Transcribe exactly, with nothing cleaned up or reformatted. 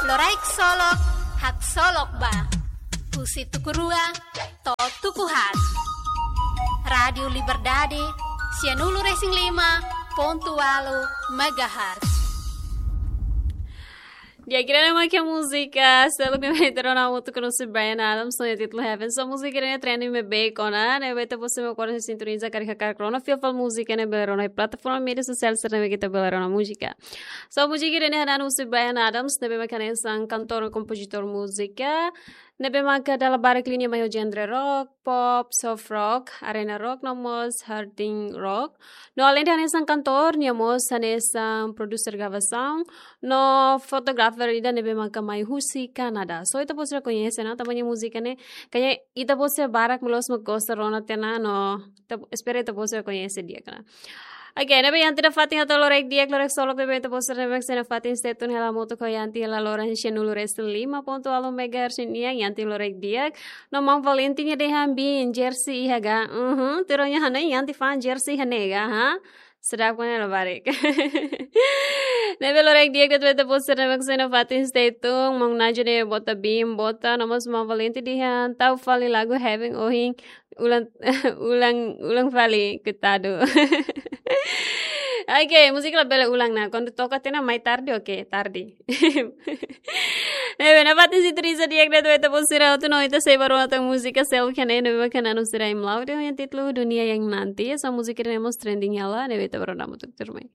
Loraik Solok, haksolok ba. Husi tuku rua to'o tuku haat. Rádiu Liberdade, sianulu-resin-lima pontu ualu megahertz. Di'ak, ida-ne'e mak múzika seluk ne'ebé ita rona hamutuk ho Bryan Adams, no nia títulu Heaven. So múzika ida-ne'e trending ne'ebé kona, ne'ebé ita-boot sira mak kuandu sintoniza karik hakarak rona, fila fali múzika ne'e bele rona iha plataforma média sosiál sira ne'ebé ita bele rona múzika. So múzika ida-ne'e hanesan husi Bryan Adams, ne'ebé mak hanesan kantór no kompozitór múzika, ne'ebé mak dala barak liña mai ho genre rock, pop, soft rock, arena rock, no mós hard rock. No aleinde hanesan kantór, nia mós hanesan produser gravasaun, no fotografer ida ne'ebé mak mai husi Kanadá. So ita-boot sira koñese ona, tanba nia múzika ne'e, kayaknya ita-boot sira barak mak loos mak gosta rona tiha ona, no ita, espera ita-boot sira koñese di'ak ona. Oke, ne'ebé Yanti nafatin atu loraik di'ak, loraik solok ne'ebé ita-boot sira ne'ebé mak sei nafatin stay tune hela hamutuk ho Yanti hela loron sianulu-resin-lima pontu ualu megahertz nian, Yanti loraik di'ak. No Maun Valentin nia dehan biin jersey iha ga. Mhm, tuir ó-nia hanoin Yanti fa'an jersey iha ne'e ga, ha? Sedap kan ya, labarik. Ne'ebé loraik di'ak de'it ba ita-boot sira ne'ebé mak sei nafatin stay tune, Maun Najo ne'e bota biin, bota, no mós Maun Valentin dehan tau fali lagu Heaven ohin, ulang, ulang, ulang fali, koitadu. Oke, múzika labele ulang ona. Kuandu toka tiha ona mai tarde, oke, tarde. Ne'ebé nafatin sintoniza di'ak de'it ba ita-boot sira hotu, no ita sei bá rona tan múzika seluk ne'e, ne'ebé mak hanesan husi Raim Laude, ho nia títulu Dunia Yang Nanti. So múzika ne'e mós trending hela, ne'ebé ita bá rona hamutuk tuirmai.